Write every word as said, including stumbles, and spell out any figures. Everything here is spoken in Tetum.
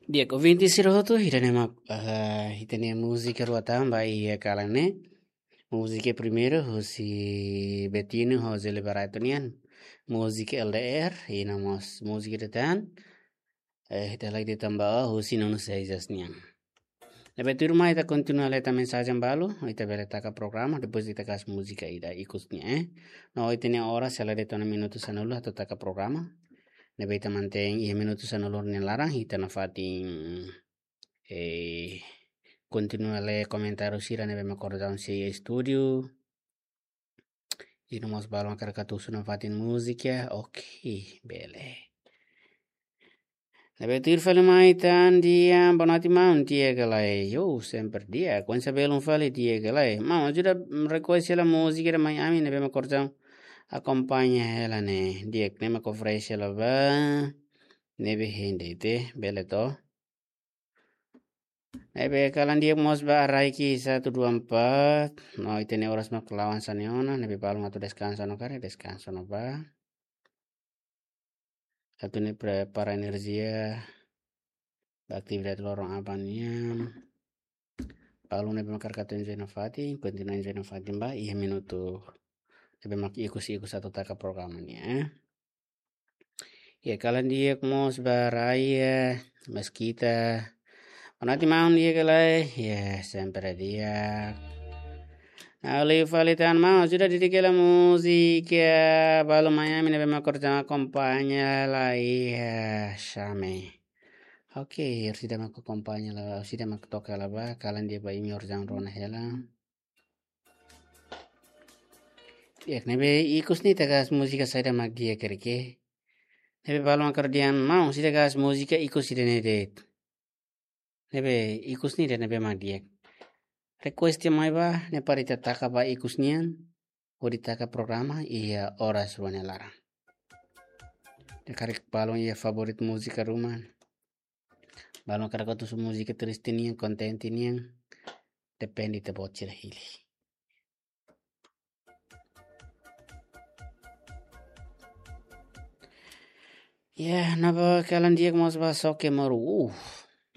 Di'ak, ouvinte sira hotu, ida-ne'e mak, eh, ita-nia múzika rua tan ba iha kalan ne'e. Múzika primeiru husi Betinho ho Zé Liberato nian. Múzika L D R, i no mós múzika ida tan, eh, ita lagi tamba husi Nuno Seis nian. Ne'ebé tuirmai ita kontinua lee tan mensajen balu, ita bele taka programa, depois ita kaer múzika ida ikus nian, eh. No ita-nia oras sei la de'it ona minutu sanulu atu taka programa. Ne'ebé ita mantein iha minutu sanulu nia laran, ita nafatin, eh, kontinua lee komentáriu sira ne'ebé mak kordang sei estúdiu. I no mós balu mak hakarak atu husu nafatin múzika, oke, bele. Ne'ebé tuir fali mai tan di'ak, boa noite maun, di'ak ka lae? Yo, sempre di'ak, kuandu belun fali di'ak ka lae? Maun, ajuda, mm, request hela múzika ida mai ami, ne'ebé mak kordang akompaña hela ne'e. Di'ak, ne'e mak oferese hela ba. Ne'ebé hein de'it, bele to. Ne'ebé kalan di'ak mós ba Raiki satu dua empat. No ita-nia oras mak la'o hanesan ne'e ona, ne'ebé balu mak atu deskansa no karik, deskansa no ba. Atu nune'e prepara enerjia ba atividade loron aban nian. Balu ne'ebé mak hakarak atu enjoy nafatin, kontinua enjoy nafatin ba iha minutu ne'ebé mak ikus-ikus atu taka programa nian, eh. Ya, kalan di'ak mós ba Raya Meskita. Boa noite maun, di'ak ka lae? Ya, sempre di'ak. Nah, liu fali tan maun, ajuda dedika hela múzika, eh, balu mai ami ne'ebé mak kordang akompaña hela iha, eh, Xame. Oke, orsida mak akompaña hela, orsida mak toka hela ba, kalan di'ak ba imi orsida rona hela. Di'ak, ne'ebé ikus ne'e ita kaer múzika saida mak di'ak karik? Ne'ebé balu mak hakarak dehan maun, orsida kaer múzika ikus ida-ne'e de'it. Ne'ebé ikus ne'e de'it ne'ebé mak di'ak. Request mai ba, ne'e para ita taka ba ikus nian, hodi taka programa iha oras rua nia laran. Ne'e karik balu iha favorit múzika ruma. Balu mak hakarak atu husu múzika triste nian, kontente nian. Depende ita-boot sira hili. Ya, ne'ebé kalan di'ak mós ba Soke Moru. Uh,